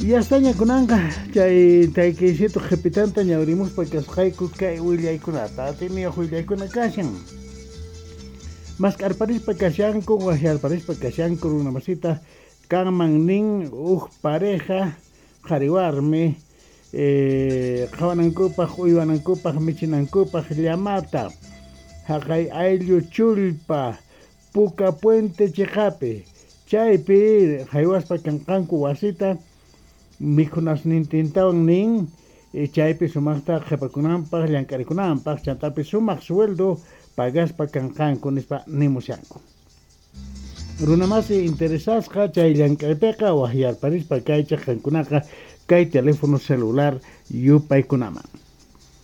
Yastaña kunanqa chay taykaysito qhipitanta ñawrimuspa kasqayku kay willaykunata atiniyuq willaykuna kashan. Mask'arparispa kashanku, waqyarparispa kashanku runa masita kanman nin huk pareja qhari warmi qhawanankupaq, uywanankupaq, michinankupaq llamata haqay ayllu chullpa Puka Puente chiqapi chaypi haywaspa kanqanku wasita mikhunasnintintawan nin chaypi sumaqta qhipakunanpaq llank'arikunanpaq chantapi sumaq sueldo pagaspa kanqanku nispa nimushanku. Runamasi interesasqa chay llank'aypiqa waqyarparispa kaychaq qankunaqa kay teléfono celular yupaykunaman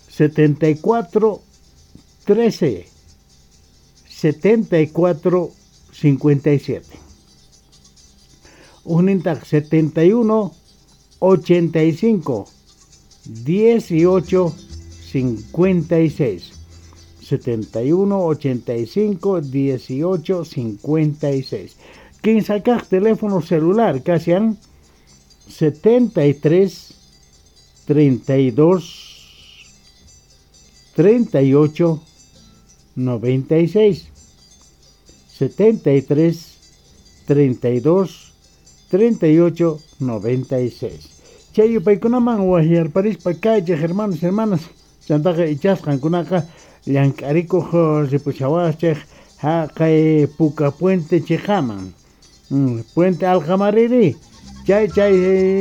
74 13 74 57 Ujnintaq 71 85 18 56 71 85 18 56 Kinsakaq teléfono celular kashan 73 32 38 96 73 32 38 96 Chay yupaykunaman waqyarparispa kaychik hermanos, hermanas, chantaqa ichasqankunaqa llank'arikuq ripushawaqchik haqay Puka Puente chiqaman Puente Alqamariri chay chay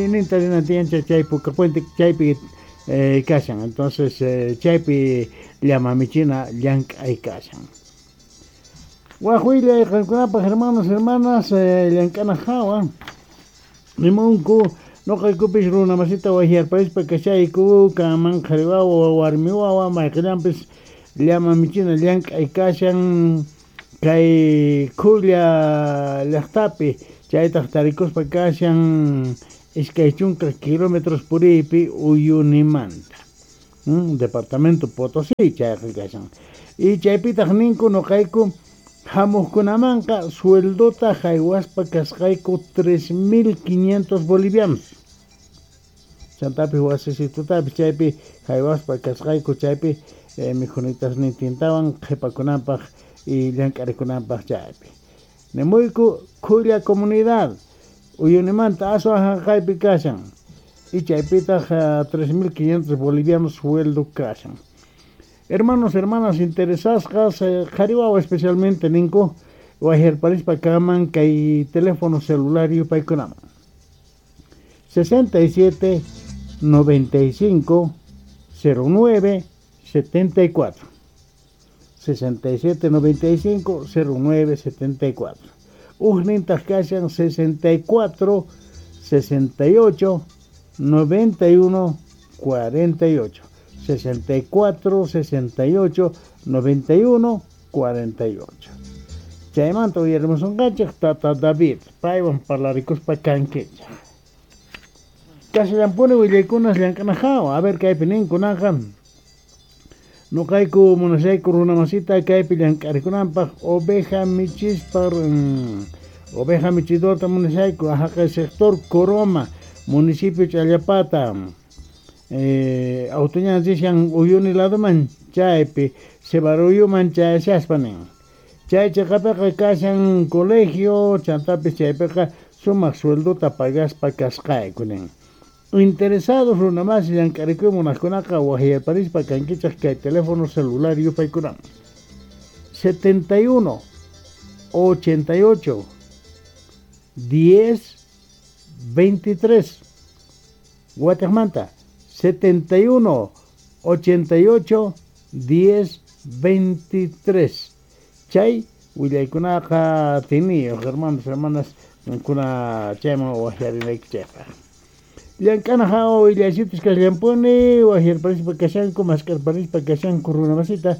ninta rinan tiyan chay Puka Puente chaypi kashan entonces chaypi llama michina llank'ay kashan. Waq willay qankunapaq hermanos, hermanas, llank'ana hawa nimunku noqaykupis runa masita waqyarparispa kashayku kanman qhari wawa warmi wawa mayqillanpis llama michina llank'ay kashan kay Khulla llaqtapi chaytaq tarikuspa kashan 20 kilómetros puriypi Uyunimanta departamento Potosí chayqa kashan y chaypitaq ninku noqayku hamuqkunamanqa sueldota haywaspa kasqayku 3500 bolivianos chantapi wasisitutapis chaypi haywaspa kasqayku chaypi mikhunitasnintintawan qhipakunanpaq y llank'arikunanpaq chaypi nimuyku Khulla comunidad Uyunimanta aswan haqaypi kashan y chaypitaq 3500 bolivianos sueldo kashan. Hermanos, hermanas interesasqas, qhari wawa especialmente ninku waqyarparispa kaman kay teléfono celular yupaykunaman 67 95 09 74 67 95 09 74 Ujnintaq kashan 64 68 91 48 64 68 91 48 Chaymanta uyarimusunqanchik tata David paywan parlarikuspa kankichik. Kashallampuni willaykunas llank'ana hawa a ver kaypi ninkunaqa noqayku munashayku runa masita kaypi llank'arikunanpaq oveja michispa oveja michidorta munashayku haqay sector Coroma municipio Challapata autoñan rishan Uyuni ladoman chaypi Cebaruyuman chayashaspa nin chay chiqapiqa kashan colegio chantapis chaypiqa sumaq sueldota pagaspa kasqayku nin. Interesados runa masi llank'arikuy munaqkunaqa waqyarparispa kankichaq kay teléfono celular yupaykunaman 71 88 10 23 Guatemala 71 88 10 23 Chay willaykunaqa tiniyuq hermanos, hermanas kuna chayman waqyarinaykichikpaq. Llank'ana hawa willaysitus kasllampuni waqyarparispa kashanku mask'arparispa kashanku runa masita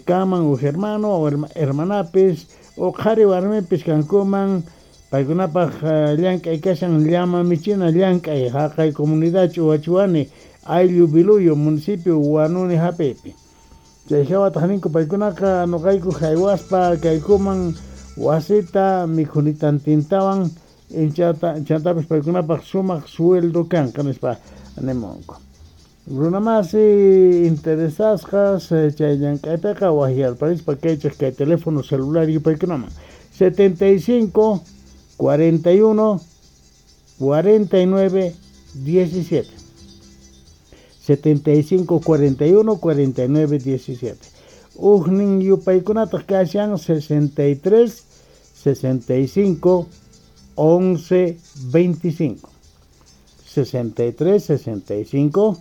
kaman huk hermano o hermanapis o qhari warmipis kankuman paykunapaq llank'ay kashan llama michina llank'ay haqay comunidad Ch'uwachuani ayllu Biluyo municipio Huanuni hap'ipi chay hawataq ninku paykunaqa noqayku haywaspa kaykuman wasita mikhunitantintawan Chantapis paykunapaq sumaq sueldo kanqa nispa nimunku. Runamasi interesasqas chay llank'aypiqa waqyarparispa kaychik kay teléfono celular yupaykunaman 75 41 49 17 75 41 49 17 Ujnin yupaykunataq kashan 63 65 11 25 63 65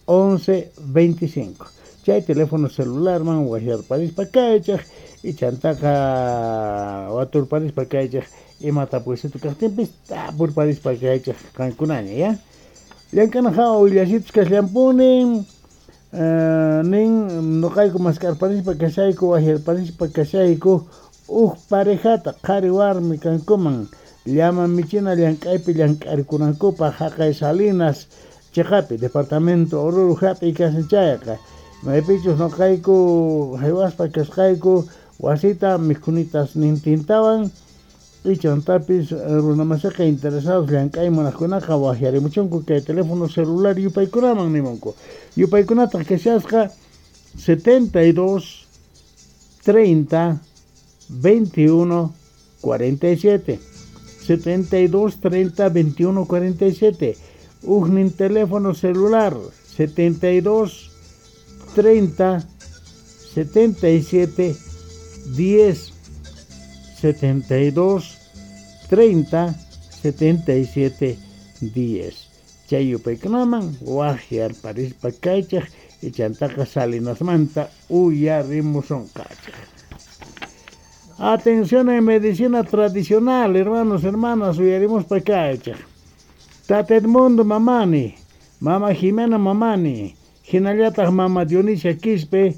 11 25 Chay teléfono celular man waqyarparispa kaychik y chantaqa waturparispa kaychik imata puysitu kaqtinpis tapurparispa kaychik qankunaña ya. Llank'anaqa willasitus kasllampuni nin nuqayku mask'arparispa kashayku waqyarparispa kashayku uj parejata qhari warmi kankuman llama michina llank'aypi llank'arikunankupaq haqay Salinas chiqapi departamento Oruro hap'i kashan chayqa maypichus nuqayku haywaspa kasqayku wasita mikhunitas nintintawan y chantapis runamasiqa interesados llank'ay munaqkunaqa waqyarimuchunku kay teléfono celular yupaykunaman nimunku yupaykunataq kashasqa 72 30 21 47 72 30 21 47 Ujnin teléfono celular 72 30 77 10 72 30 77 10 Chay yupaykunaman waqyarparispa kaychik y chantaqa Salinasmanta uyarimusunqachik. Atención en medicina tradicional, hermanos, hermanas, uyarimuspa kaychik. Tata Edmundo Mamani, Mama Jimena Mamani, hinallataq Mama Dionisia Quispe,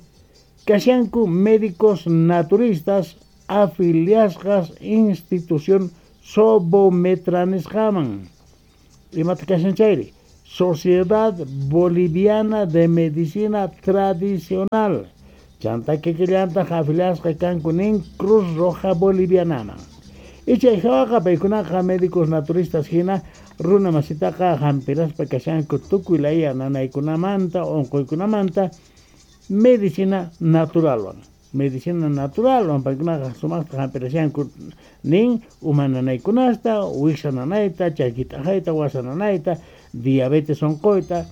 kashanku médicos naturistas afiliasqas institución Sobometranisqaman. Imata kashan chayri? Sociedad Boliviana de Medicina Tradicional. Chanta kikillantaq afiliasqa kanku nin Cruz Roja Bolivianaman. Y chay hawaqa paykunaqa médicos naturistas hina runa masitaqa hampiraspa kashanku tukuy laya nanaykunamanta unquykunamanta medicina naturalwan. Medicina naturalwan paykunaqa sumaqta hampirashanku nin uma nanaykunasta, wiksa nanayta, chaki t'aqayta, wasa nanayta, diabetes unquyta,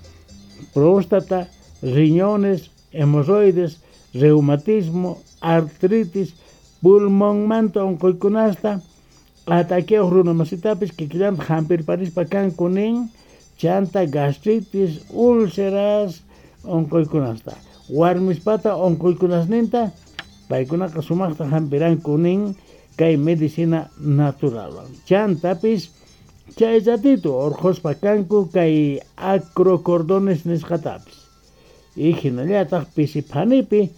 próstata, riñones, hemorroides, reumatismo, artritis, pulmonmanta unquykunasta, ataqueos runamasitapis kikillanta hampirparispa kanku nin chanta gastritis, úlceras unquykunasta. Warmispata unquykunasninta paykunaqa sumaqta hampiranku nin kay medicina naturalwan. Chantapis chay ratito urquspa kanku kay acrocordones nisqatapis. Y hinallataq pisiphanipi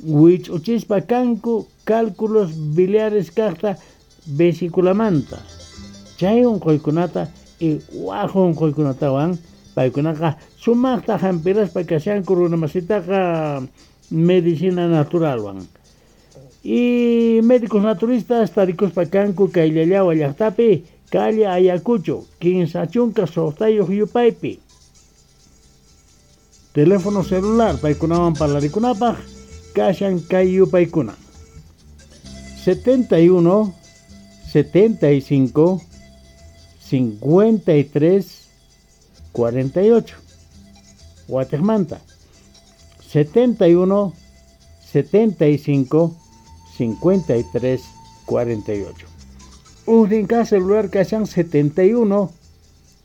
wich'uchispa kanku cálculos biliares kaqta vesiculamanta. Chay unquykunata y waj unquykunatawan paykunaqa sumaqta hampiraspa kashanku runamasitaqa medicina naturalwan. Y médicos naturistas tarikuspa kanku kay Llallawa llaqtapi calle Ayacucho, 15 6 yupaypi. Teléfono celular paykunawan parlarikunapaq kashan kay yupaykuna 71 75 53 48 Guatemala 71 75 53 48 Ujninka celular kashan 71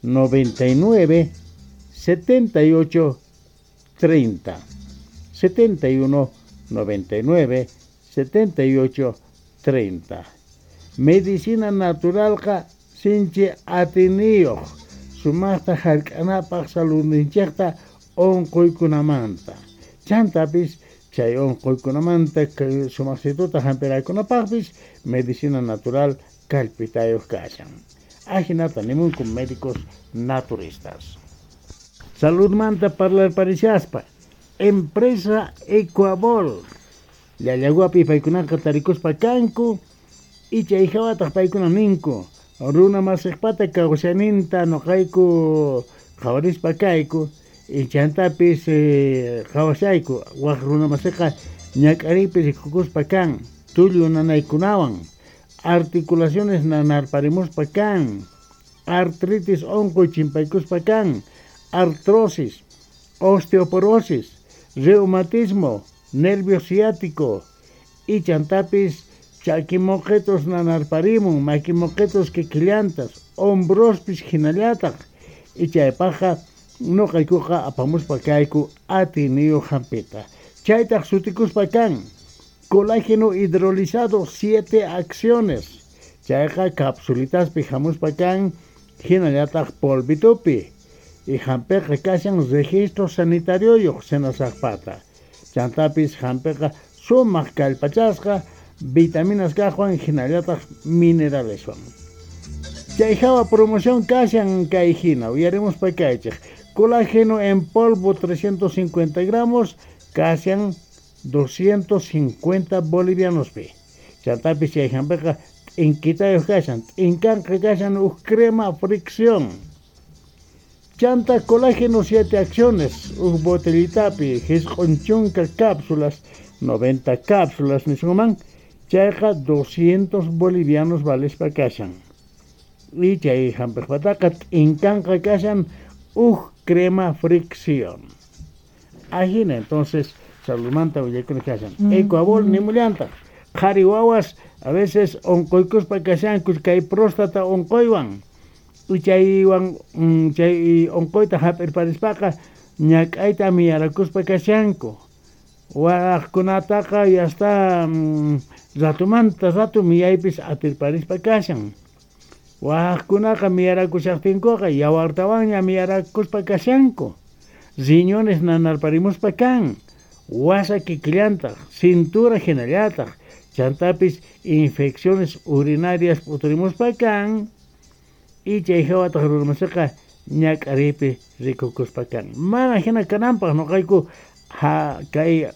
99 78 30 71 99 78 30 Medicina naturalqa sinchi atiniyuq sumaqta hark'anapaq saludninchikta unquykunamanta. Chantapis chay unquykunamanta sumaqsituta hampiraykunapaqpis medicina natural kallpitayuq kashan. Ajinata nimunku médicos naturistas. Saludmanta parlarparishaspa empresa Ecuabol Llallaguapi paykunaqa tarikuspa kanku y chay hawataq paykuna ninku Runa masiqpata kawsayninta nuqayku qhawarispa kayku y chantapis qhawashayku waq runa masiqa ñak'ariypi rikukuspa kan tullu nanaykunawan articulaciones nanarparimuspa kan artritis unquy chimpaykuspa kan artrosis, osteoporosis, reumatismo, nervio ciático y chantapis chakimoqitus nanarparimun makimoqitus kikillantas hombrospis hinallataq y chaypaqqa nuqaykuqa apamuspa kayku atiyniyuq hampita chaytaq sutikuspa kan colágeno hidrolizado 7 acciones chayqa capsulitaspi hamuspa kan hinallataq polvitupi y hampiqa kashan registro sanitarioyuq SENASACpata chantapis hampiqa sumaq kallpachasqa vitaminas kaqwan hinallataq mineraleswan. Chay hawa promoción kashan kay hina uyarimuspa kaychik colágeno en polvo 350 gramos kashan 250 bolivianospi chantapis chay hampiqa t'inkitayuq kashan t'inkanqa kashan huk crema fricción chanta colágeno 7 acciones huk botellitapi hisq'un chunka cápsulas 90 cápsulas nisunman chayqa 200 bolivianos valespa kashan y chay hampiqpataqa t'inkanqa kashan huk crema fricción ajina entonces saludmanta willakuna kashan Ecuabol nimullantaq qhari wawas a veces unquykuspa kashanku kay próstata unquywan y chaywan chay unquyta hap'irparispaqa ñak'ayta miyarakuspa kashanku waqkunataqa ya está ratumanta ratu miyaypis atirparispa kashan waqkunaqa miyarakushaqtinkuqa yawartawanña miyarakuspa kashanku riñones nanarparimuspa kan wasa kikillantaq cintura hinallataq chantapis infecciones urinarias p'uturimuspa kan y chay hawataq runamasiqa ñak'ariypi rikukuspa kan mana hina kananpaq nuqayku kay